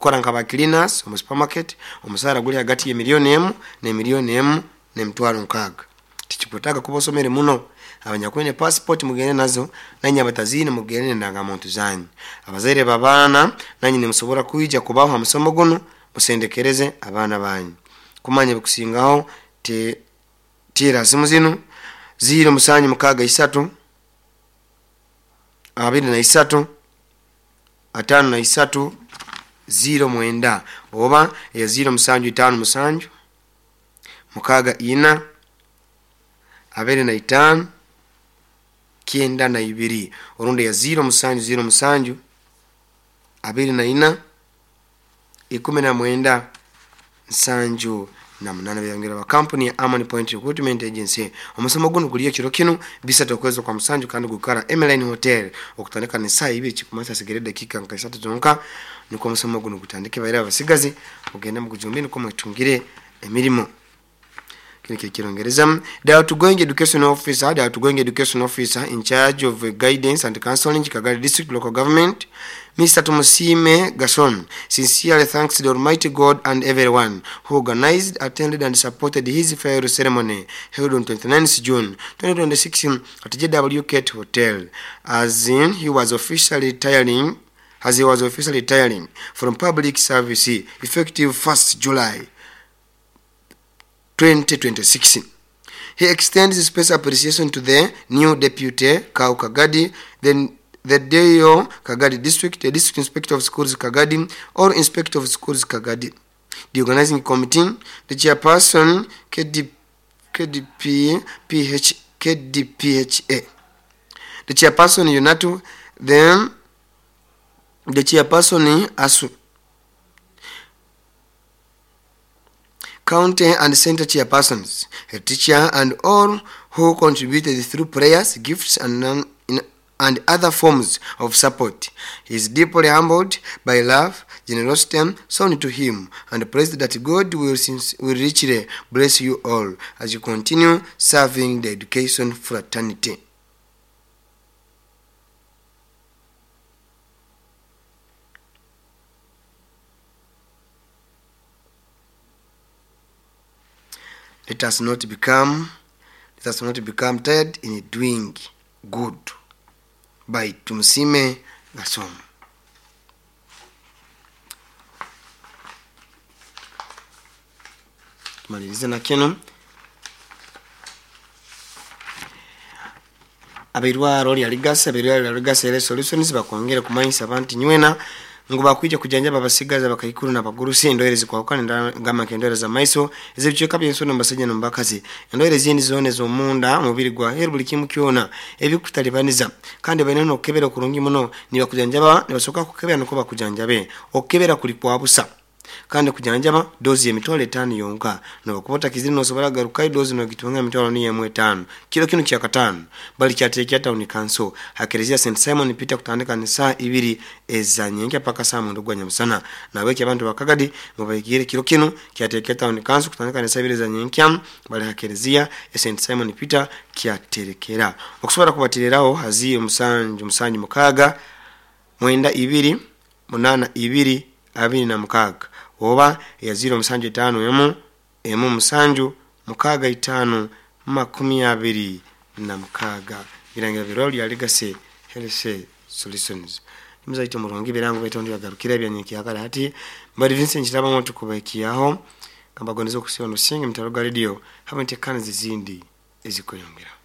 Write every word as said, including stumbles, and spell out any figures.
Kukora nka ba cleaners omu supermarket, omusaara guli hagati ya miliyoni emu n'emiliyoni emu n'emitwaro nkaaga. Tikikwetaaga kuba osomere muno. Abanyakwine passport mugende nazo, nanye abataziine mugende n'endangamuntu zanyu. Abazaire b'abaana nanye nimusobora kwija kubaho ha musomo gunu, musendekereze abaana banyu. Kumanya ebikusingaho te teera simu zinu ziro musanju mukaaga isatu abiri na isatu ataano na isatu ziro mwenda oba eya ziro musanju itaano musanju mukaaga ina abiri na itaano kyenda na ibiri orundi eya ziro musanju ziro musanju abiri na ina ikumi na mwenda nsanju na munana. Byongera ba kampuni ya Amani Point Recruitment Agency. Omusomo guno guli ekiro kinu bisatu okwezi kwa musanju, kandi gukara Emeline Hotel okutandika n'esaaha ibiri, kikumanyisa hasigara edakiika nka isatu zonka nukwo omusomo guno gutandike. Baire abasigazi mugende mugujumbire nukwo mwetungire emirimo. Kino kiri kirongereza. The outgoing education officer, the outgoing education officer in charge of guidance and counseling, Kagadi District Local Government, Mister Tumusime Gason, sincerely thanks the Almighty God and everyone who organized, attended and supported his farewell ceremony held on twenty-ninth June twenty twenty-six at J W Kate Hotel, as in he was officially retiring, as he was officially retiring from public service effective first July twenty twenty-six. He extends special appreciation to the new deputy Kau Kagadi, then the Deo Kagadi District, the District Inspector of Schools Kagadi, or Inspector of Schools Kagadi, the organizing committee, the chairperson K D, K D P, P H, K D P H A, the chairperson Yunatu, then the chairperson Asu, county and center chairpersons, a teacher, and all who contributed through prayers, gifts, and non, in, and other forms of support. He is deeply humbled by love, generosity shown to him, and prays that God will, will richly bless you all as you continue serving the education fraternity. Let us not become, let us not become tired in doing good. By Tumusime Gason. Tumalirize na kino. Abirwaro lya Ligasa, abirwaro lya Ligasa Health Solutions bakwongera kumanyisa abantu nywena ngu bakwija kujanjaba abasigazi abakaikuru n'abagurusi endwaire zikwahukana ngamba nk'endwaire z'amaiso ez'ebicweka by'ensono mu basajja n'omu bakazi, endwaire ezindi zoona ez'omunda omubiri gwa heru buli kimu kyona ebikutalibaniza, kandi baine n'okukebera okurungi muno. Nibakujanjaba, nibasooka kukebera nukwo bakujanjabe. Okukebera kuli kwa busa, kandi kujanjaba dozi y'emitwalo etaano yonka. Nobakuba otakizire nosobora kugarukayo dozi nogitunga emitwalo niyo emu etaano. Kiro kinu kya kataano bali kyateekera town council ha Kereziya Saint Simon Peter kutandika n'esaaha ibiri ezanyenkya paka saa mwenda ogwa nyamusana. Nabweki abantu ba Kagadi mubaigire kiro kinu kyateekera town council kutandika n'esaaha ibiri ezanyenkya bali ha Kereziya ya Saint Simon Peter kyaterekera. Okusobora kubatereraho haziye musanju musanju mukaaga mwenda ibiri munaana ibiri abiri na mukaaga oba ya ziro musanju etaano emu emu musanju mukaaga itaano makumi abiri na mukaaga. Birangira birwaro lya Legacy Health Solutions. Muzaito murungi birango betondo yagarukira ebyanyenkya hati bali Vincent Kiraba tukubakiyaho kambagondeza okusiba nosinga mitaro ga radio hamwe ntekana zizindi ezikweyongera.